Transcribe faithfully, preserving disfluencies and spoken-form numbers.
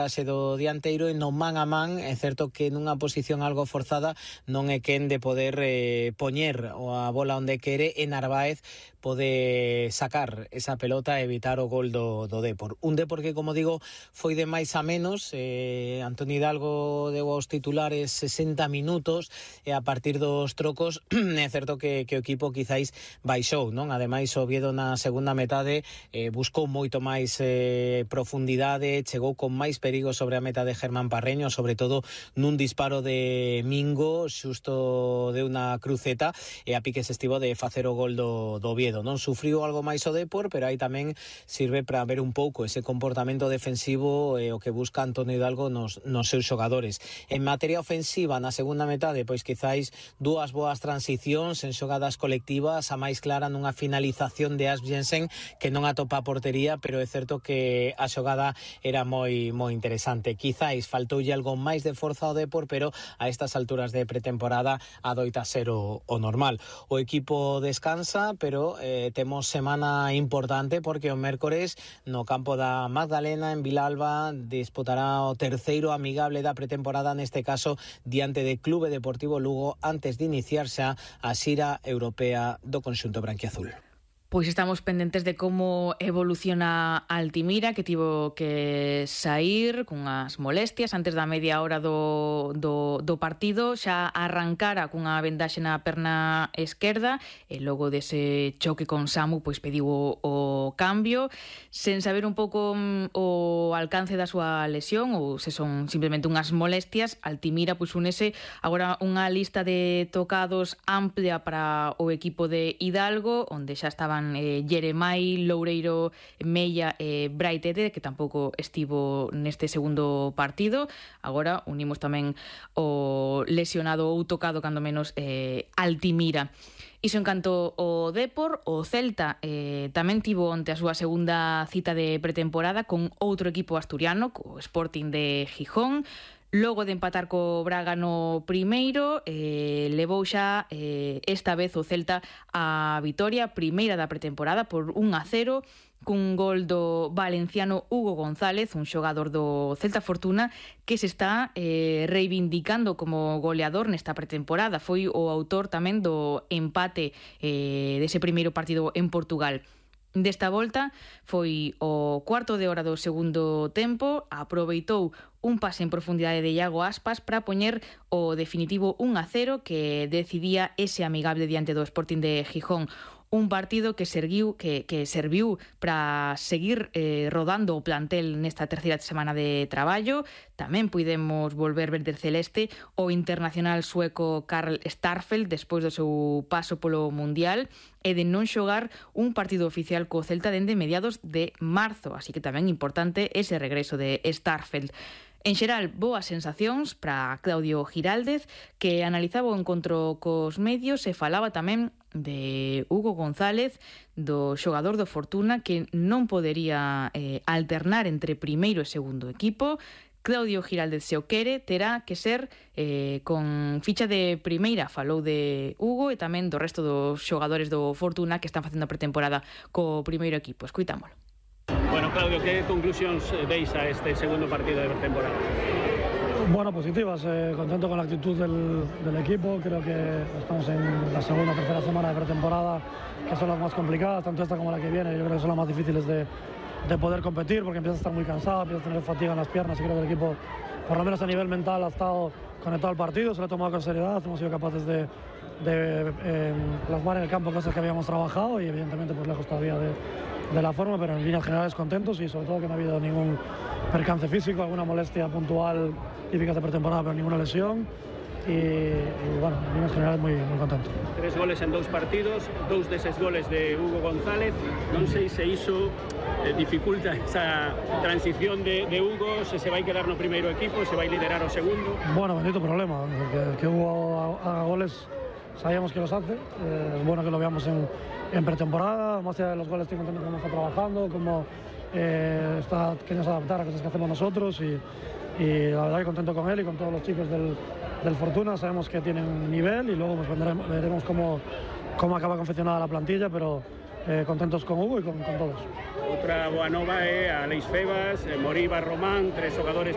Ase do dianteiro e no man a man é certo que nunha posición algo forzada non é quen de poder eh, poñer a bola onde quere e Narváez pode sacar esa pelota e evitar o gol do, do Depor. Un Depor que, como digo, foi de máis a menos. eh, Antoni Hidalgo deu aos titulares sesenta minutos e a partir dos trocos é certo que, que o equipo quizáis baixou, non? Ademais, o Oviedo na segunda metade eh, buscou moito máis eh, profundidade, chegou con máis perigo sobre a meta de Germán Parreño, sobre todo nun disparo de Mingo, xusto de unha cruceta, e a piques estivo de facer o gol do, do Oviedo. Non sufriu algo máis o Depor, pero aí tamén sirve para ver un pouco ese comportamento defensivo e o que busca Antonio Hidalgo nos, nos seus xogadores. En materia ofensiva, na segunda metade, pois quizáis dúas boas transicións en xogadas colectivas, a máis clara nunha finalización de Asbjensen que non atopa a portería, pero é certo que a xogada era moi moi interesante. Quizáis faltoulle algo máis de forza ao Depor, pero a estas alturas de pretemporada adoita ser o, o normal. O equipo descansa, pero eh, temos semana importante porque o mércores no campo da Magdalena en Vilalba disputará o terceiro amigable da pretemporada, neste caso diante de Clube Deportivo Lugo, antes de iniciarse a xira europea do conxunto branquiazul. Pois estamos pendentes de como evoluciona Altimira, que tivo que sair cunhas molestias antes da media hora do, do, do partido. Xa arrancara cunha vendaxe na perna esquerda e logo dese choque con Samu pois pediu o, o cambio sen saber un pouco o alcance da súa lesión ou se son simplemente unhas molestias. Altimira pois unese agora unha lista de tocados amplia para o equipo de Hidalgo, onde xa estaban Eh, Jeremai, Loureiro, Mella e eh, Braitete, que tampouco estivo neste segundo partido. Agora unimos tamén o lesionado ou tocado cando menos eh, Altimira. Iso en canto o Depor. O Celta eh, tamén tivo onte a súa segunda cita de pretemporada con outro equipo asturiano, co Sporting de Gijón. Logo de empatar co Braga no primeiro, eh, levou xa eh, esta vez o Celta a vitoria primeira da pretemporada por un a cero, cun gol do valenciano Hugo González, un xogador do Celta Fortuna que se está eh, reivindicando como goleador nesta pretemporada. Foi o autor tamén do empate eh, dese primeiro partido en Portugal. Desta volta foi o cuarto de hora do segundo tempo, aproveitou un pase en profundidade de Iago Aspas para poñer o definitivo un a cero que decidía ese amigable diante do Sporting de Gijón. Un partido que serviu que, que serviu para seguir eh, rodando o plantel nesta terceira semana de traballo. Tamén puidemos volver verde celeste o internacional sueco Karl Starfelt despois do seu paso polo Mundial e de non xogar un partido oficial co Celta dende mediados de marzo, así que tamén importante ese regreso de Starfelt. En xeral, boas sensacións para Claudio Giraldez, que analizaba o encontro cos medios e falaba tamén de Hugo González, do xogador do Fortuna, que non podería eh, alternar entre primeiro e segundo equipo. Claudio Giraldez, se o quere, terá que ser eh, con ficha de primeira. Falou de Hugo e tamén do resto dos xogadores do Fortuna que están facendo a pretemporada co primeiro equipo. Escuitámolo. Bueno, Claudio, ¿qué conclusiones veis a este segundo partido de pretemporada? Bueno, positivas, eh, contento con la actitud del, del equipo. Creo que estamos en la segunda o tercera semana de pretemporada, que son las más complicadas, tanto esta como la que viene. Yo creo que son las más difíciles de, de poder competir, porque empieza a estar muy cansado, empieza a tener fatiga en las piernas, y creo que el equipo, por lo menos a nivel mental, ha estado conectado al partido, se lo ha tomado con seriedad, hemos sido capaces de, de eh, plasmar en el campo cosas que habíamos trabajado y evidentemente pues lejos todavía de, de la forma, pero en líneas generales contentos y sobre todo que no ha habido ningún percance físico, alguna molestia puntual típica de pretemporada, pero ninguna lesión. Y, y bueno, en líneas generales muy, muy contento. Tres goles en dous partidos, dous deses goles de Hugo González. Non sei se iso eh, dificulta esa transición de, de Hugo, se se vai quedar no primeiro equipo, se vai liderar o segundo. Bueno, bendito problema, que, que Hugo haga goles sabíamos que los hace, eh, es bueno que lo veamos en, en pretemporada, más allá de los goles estoy contento cómo está trabajando, cómo eh, está queriendo adaptar a cosas que hacemos nosotros y, y la verdad que contento con él y con todos los chicos del, del Fortuna. Sabemos que tienen nivel y luego pues vendremos, veremos cómo, cómo acaba confeccionada la plantilla, pero eh, contentos con Hugo y con, con todos. Outra boa nova é a Aleix Febas, Moriba, Román, tres xogadores